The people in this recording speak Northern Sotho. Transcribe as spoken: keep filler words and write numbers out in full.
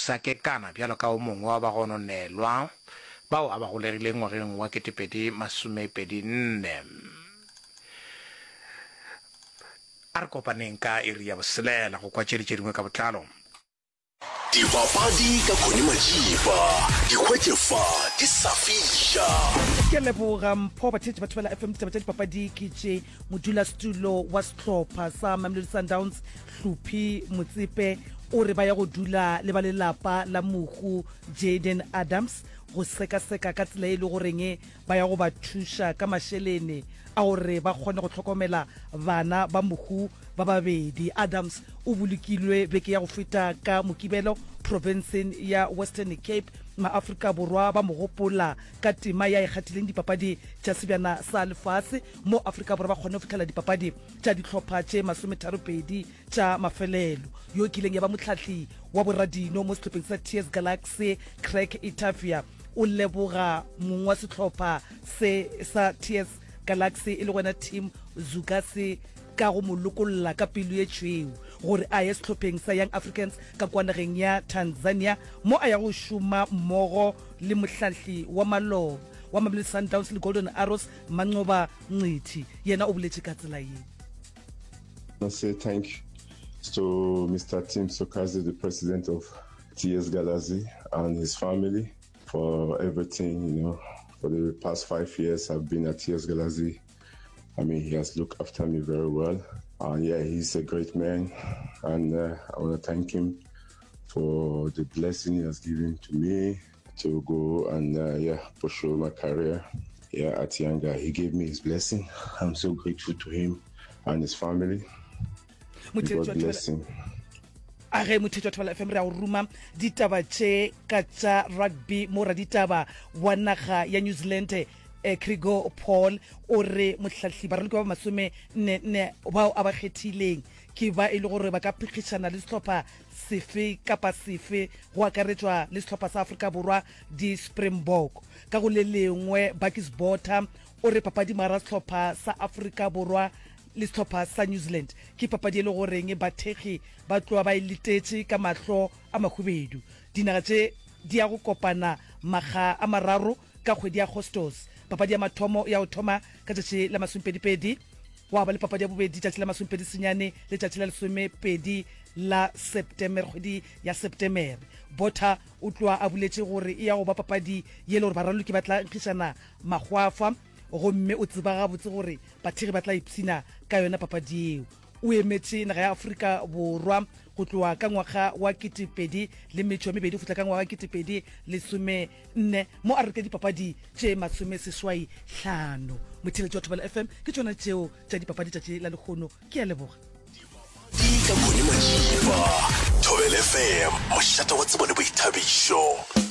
sa Kekana bjalo ka o mongwe wa bagononelwa bao a ba golegileng ngwageng wa ketepedi masomepedi nne. A re kopaneng ka iri ya boselela go kwa tše di tše dingwe ka botlalo. Dipapadi ka Connie Majiba, di hwetše fa di sa fiša. Ke a leboga Mpho. Batheetši ba Thobela F M, ditaba tša dipapadi ke tše. Modulasetulo wa sehlopha sa Mamelodi Sundowns, Hluphi Motsepe, o re ba ya go dula le ba lelapa la mohu Jayden Adams go sekaseka ka tsela e le goreng ba ya go ba thuša ka mašelene a gore ba kgone go hlokomela bana ba mohu ba babedi. Adams o bolokilwe beke ya go feta ka Mokibelo profenseng ya Western Cape. MaAfrika Borwa ba mo gopola ka tema ya e kgathileng dipapadi tša Sebjana sa Lefase mo Afrika Borwa ba kgonne go fihlela dipapadi tša dihlopha tše masometharopedi tša mafelelo. Yo e kileng ya ba mohlahli wa boradino mo sehlopheng sa T S Galaxy Craig Etafia o leboga mong wa sehlopha se sa T S Galaxy e le gona Tim Zukase ka go mo lokolla ka pelo ye tšhweu gore a ye sehlopheng sa Young Africans ka kwa nageng ya Tanzania mo a ya go šoma mmogo le mohlahli wa maloba wa Mamelodi Sundowns le Golden Arrows Manqoba Mngqithi. Yena o boletše ka tsela ye. I say thank to Mister Tim Sukazi, the president of T S Galaxy, and his family for everything, you know. For the past five years I've been at T S Galaxy. I mean, he has looked after me very well. And yeah, he's a great man. And uh, I want to thank him for the blessing he has given to me to go and uh, yeah, pursue my career here at Yanga. He gave me his blessing. I'm so grateful to him and his family. God bless him. A ge motheetši wa Thobela F M, re a go ruma ditaba tše ka tša rugby mo raditaba wa naga ya New Zealand eh, Krigo Paul o re mohlahli baraloki ba masome nne nne bao a ba kgethileng ke ba e le gore ba ka phekgišana le sehlopha sefe kapa sefe go akaretšwa le sehlopha sa Afrika Borwa di-Springbok. Ka go le lengwe, Bakkies Botha o re papadi mara sehlopha sa Afrika Borwa le sehlopha sa New Zealand ke papadi e le goreng bathekgi ba tloa ba e letetše ka mahlo a mahubedu. Dinaga tše di ya go kopana makga a mararo ka kgwedi ya Agostose. Papadi ya mathomo ya go thoma ka tšatši la masomepedipedi, gwa ba le papadi ya bobedi tšatši la masomepedi senyane le tšatši la lesomepedi la Septemere, kgwedi ya Septemere. Botha o tloa a boletše gore e ya go ba papadi ye le gore baraloki ba tla nkgišana mahwafa, gomme o tseba gabotse gore bathekgi ba tla ipshina ka yona papadi yeo. O emetše naga ya Afrika Borwa go tloga ka ngwaga wa ketepedi le metšo mebedi go fihla ka ngwaga wa ketepedi lesome nne mo a reka dipapadi tše masome seswai hlano. Motheeletši wa Thobela F M, ke tšona tšeo tša dipapadi tšatši la lehono. Ke a leboga. Ka Connie Majiba, Thobela F M, mošate wa tsebo le boithabišo.